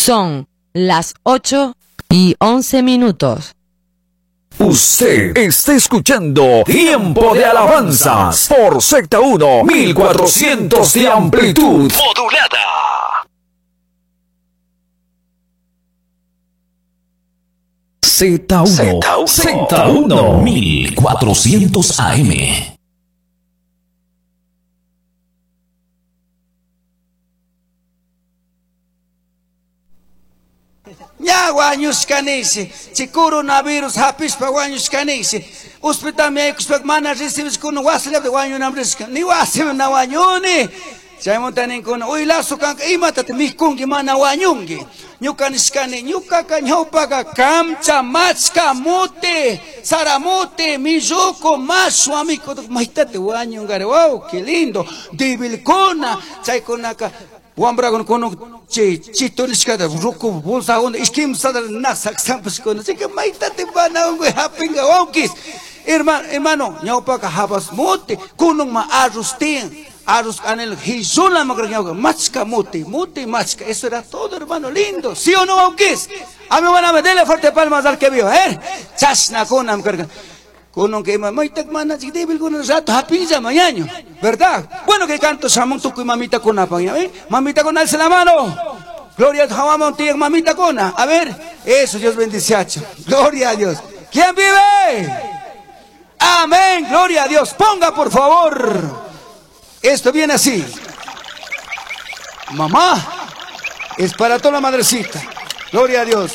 Son las 8 y 11 minutos. Usted está escuchando Tiempo de Alabanzas por Z1 1400 de amplitud modulada. Z1 Z1 1400 AM. Ña wañushkanisi, chay coronavirus hapishpa wañushkanisi. Hospitalmi yaykushpa mana recibishkuna wasillapi wañunam rishka. Ni wasimi na wañuni. Chaymanta ninkuna, uy Lazo kanka imatata mikunki mana wañunki. Ñuka nishkani, ñukaka ñawpaka kamcha, machka, mute, saramote, milluco, mashwa miku, maytate wañungari. Wow, qué lindo. Debilkuna, chaykunaka wambrakuna kunan chay chito nishkata ruku bolsakuna ishkimsata na saksampashkuna. Chayka maytate mana unkuy hapinka wawkis. Hermano, hermano, ñawpaka habas mote, kununma arroz tiyan. Arroz canelo, jisula macarñauca, machka mote, mote machka. Eso era todo, hermano, lindo. ¿Sí o no, wawkis? A mi hermana, dele fuerte palmas al que vio, ¿eh? Chasna kunam carga. Kunon que ima maytak mana débil kunan rato hapinlla mañaño, ¿verdad? Bueno, que canto samon tukuy mamita kuna pa, ¿eh? Mamita con alce la mano. Gloria a Dios, tiyan mamita kuna. A ver, eso Dios bendice. Gloria a Dios. ¿Quién vive? Amén, gloria a Dios. Ponga por favor. Esto viene así. Mamá, es para toda la madrecita. Gloria a Dios.